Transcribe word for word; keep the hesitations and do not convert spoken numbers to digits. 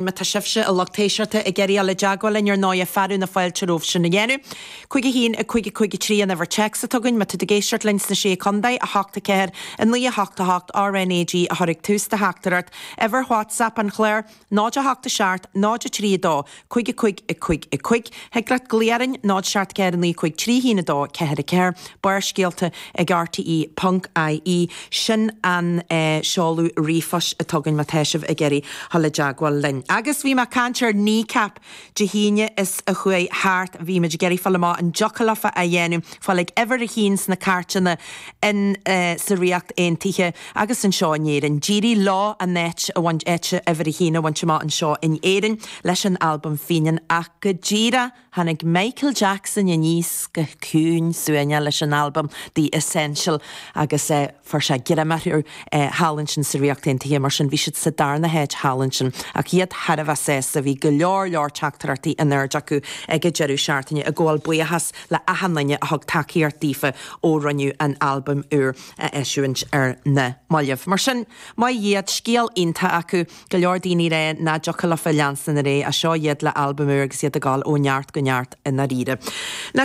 Má tá sibhse a lucht éisteachta ag iarraidh dul i dteagmháil linn ar ndóigh fearadh na fáilte romhaibh sin a dhéanamh. Cúig a haon a cúig a cúig a trí an uimhir téacs atá againn má tá tú ag éisteacht linn sna Sé Chontae, a hocht a ceathair a naoi a hocht a hocht RnaG a chur ag tús do theachtaireacht. Uimhir WhatsApp an chláir, náid a hocht a seacht, náid a trí a dó, cúig a cúig a cúig a cúig. Thig leat glaoch orainn, náid seacht ceathair a naoi cúig trí haon a dó ceathair a ceathair. Barrscéalta ag RTE ponc IE. Sin an seoladh ríomhphoist atá againn má tá sibh ag iarraidh dul i dteagmháil linn. Agus bhí mé ag caint ar Kneecap Dé hAoine is a chuaigh thart, bhí muid ag iarraidh fáil amach an dtiocfadh leofa a dhéanamh, fáil ag uimhir a haon sna cairteanna in sa Ríocht Aontaithe agus anseo in Éirinn. D'éirigh leo an áit a bhaint áit uimhir a haon a bhaint amach anseo in Éirinn leis an albam Fínean ach go díreach tháinig Michael Jackson aníos go ciúin suaimhneach leis an albam The Essential agus eh, fuair sé greim orthu eh, thall ansin sa Ríocht Aontaithe mar sin bhí siad sa darna háit thall ansin ach iad thar a bheith sásta bhí go leor leor teachtaireachtaí in airde acu ag an deireadh seachtaine ag gabháil buíochas le achan duine a thug tacaíocht daofa ó rinneadh an albam úr a eisiúint ar na mallaibh. Mar sin maith iad scéal iontach acu go leor daoine ré nach dtiocfadh leofa leanstan ar aghaidh a seo iad le albam úr agus iad ag gabháil ó neart go neart i ndáiríre.